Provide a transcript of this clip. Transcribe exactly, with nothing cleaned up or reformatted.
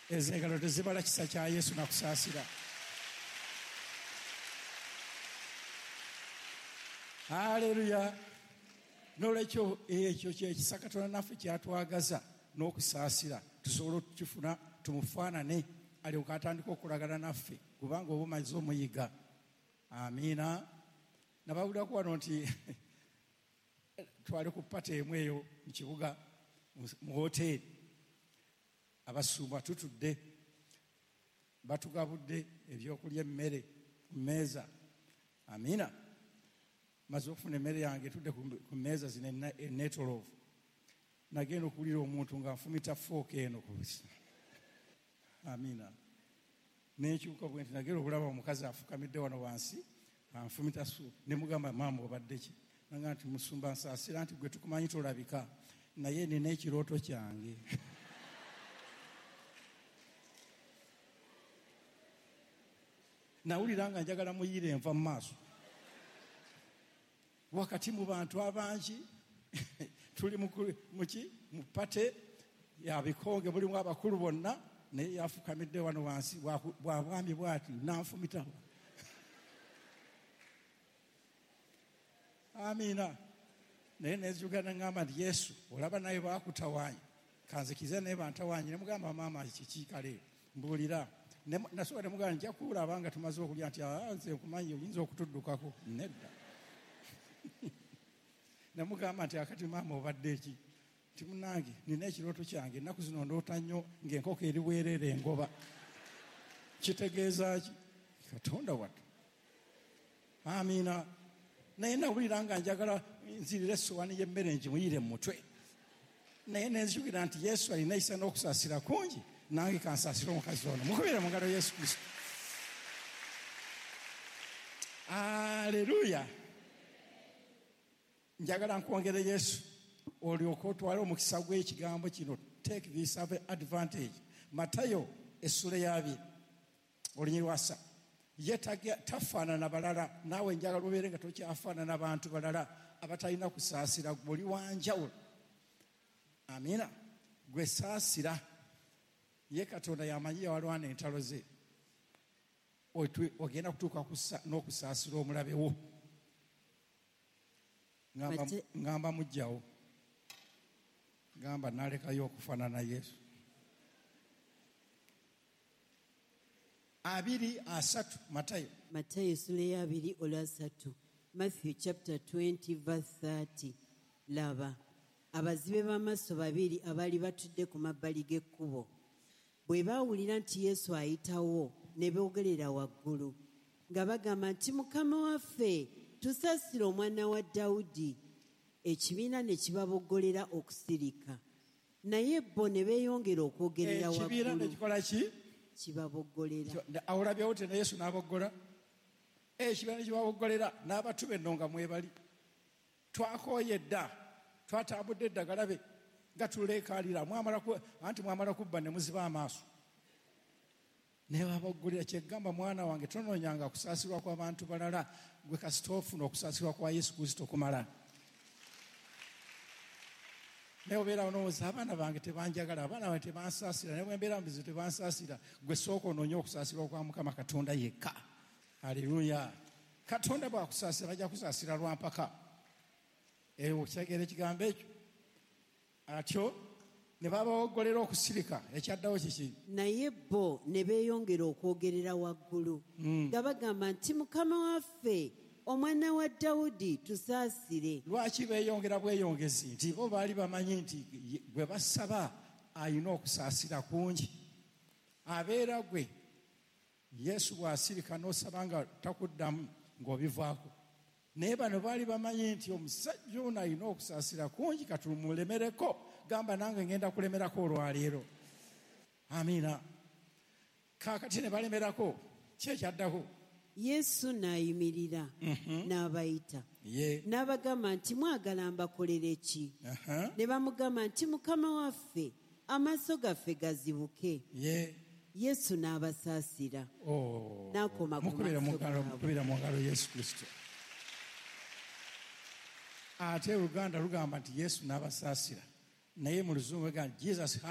Ezo engalo tezibala kisa kya Yesu nakusaasira. Haleluya. N'olwekyo ekyo kyekisa Katonda naffe kyatwagaza n'okusaasira, tusobole okukifuna tumufaanane, alyoke atandike okulagana naffe, kubanga oba omaze omuyiga. Amiina. Nabawulirako wano nti twali ku pata emu eyo mu kibuga mu woteeri, abasumba tutudde, batugabudde ebyokulya, emmere ku mmeeza. Amiina. Maze okufuna emmere yange, tudde ku mmeeza zino enneetoloovu, nagenda okuwulira omuntu nga nfumita fooka eno ku busa. Amiina. Nenkyuka bwe nti nagenda okulaba omukazi afukamidde wano wansi anfumita su, ne mugamba, maama obadde ki? Nanga nti musumba nsaasira, nti gwe tukumanyi tolabika, naye nina ekirooto kyange. Nawulira nga njagala muyire enva mu maaso wakati mu bantu abangi, tuli muki mu pate ya bikonge, mulimu abakulu bonna, naye yafukamidde wano wansi bwa bwami bwati nanfumita. Amiina. Naye nezuga nangamba nti Yesu olaba naye bakutawaanya, kanzikize naye bantawaanye. Ne mugamba maama kiki kale mbuulira. Nasooka ne mugamba nja kulaba nga tumaze okulya, nti nze nkumanyi oyinza okutuddukako. Nedda. Ne mugamba nti akati maama obadde ki? Nti munnange nina ekirooto kyange, ennaku zino ndoota nnyo ng'enkoko eri bwereere engoba. Kitegeeza ki? Katonda wattu. Amiina. Naye nawulira nga njagala nzirire essowaani y'emmere ngimuyire mu mutwe, naye nenzijukira nti Yesu alina ekisa n'okusaasira kungi, nange kansaasire omukazi ono. Mukubire mu ngalo Yesu Kristo. Aleluya. Njagala nkwongere Yesu olyoke otwale omukisa gw'ekigambo kino. Take this advantage. Matayo essula y'abiri olunyiriri lwa ssatu. Ye tafaanana balala, naawe njagala obeere nga tokyafaanana bantu balala abatalina kusaasira, gwe oli wanjawulo. Amiina. Gwe saasira. Ye Katonda yamanyi yawalwana entalo ze, ogenda kutuuka n'okusaasira omulabe wo. Ngamba mujjawo, ngamba nalekayo okufaanana Yesu. Abiri asatu Matayo. Matayo essula ey'abiri olwasatu. Matthew chapter twenty verse thirty. Laba, abazibe b'amaaso babiri abaali batudde ku mabbali g'ekkubo bwe baawulira nti Yesu ayitawo, ne boogerera waggulu nga bagamba nti Mukama waffe, tusaasire omwana wa Dawudi. Ekibiina ne kibaboggolera okusirika, naye bo ne beeyongera okwogerera waggulu. Ekibiina ne kikola ki? Kibaboggolera. Awulabyewo te ne Yesu n'aboggola. Ekibiina ne kibaboggolera n'abatume nno nga mwebali. Twakooye dda, twatambudde eddagala be nga tuleekaalira, anti mwamala kubba ne muziba amaaso. Ne baboggolera. Kyegamba mwana wange tonoonyanga kusaasirwa kw'abantu balala, gwe kasita ofuna okusaasirwa kwa Yesu Kristo kumala. Naye obeera onowooza abaana bange tebanjagala, abaana bange tebansaasira, naye bwe mbeera mu bizibu tebansaasira. Gwe sooka onoonye okusaasirwa kwa Mukama Katonda yekka. Aleluya. Katonda bw'akusaasira bajja kusaasira lwa mpaka. Eyo okitegeera ekigambo ekyo? Atyo ne babawoggolera okusirika. Ekyaddawo kiki? Naye bo ne beeyongera okwogerera waggulu nga bagamba nti Mukama waffe, omwana wa Dawudi, tusaasire. Lwaki beeyongera bweyongezi? Nti bo baali bamanyi nti gwe basaba alina okusaasira kungi. Abeera gwe Yesu bw'asirika n'osaba nga takuddamu ng'obivaako. Naye bano baali bamanyi nti omusajja ono alina okusaasira kungi, katumulemereko. Gamba nange ngenda kulemerako olwaleero. Amiina. Kaakati ne balemerako, ki ekyaddako? Yesu n'ayimirira n'abayita, n'abagamba nti mwagala mbakolere ki? Ne bamugamba nti Mukama waffe, amaaso gaffe gazibuke. Yesu n'abasaasira. N'akoma ku maaso gaabwe. Mukubire mu ngalo Yesu Kristo. Ate Oluganda lugamba nti Yesu n'abasaasira, naye mu Luzungu bagamba Jesus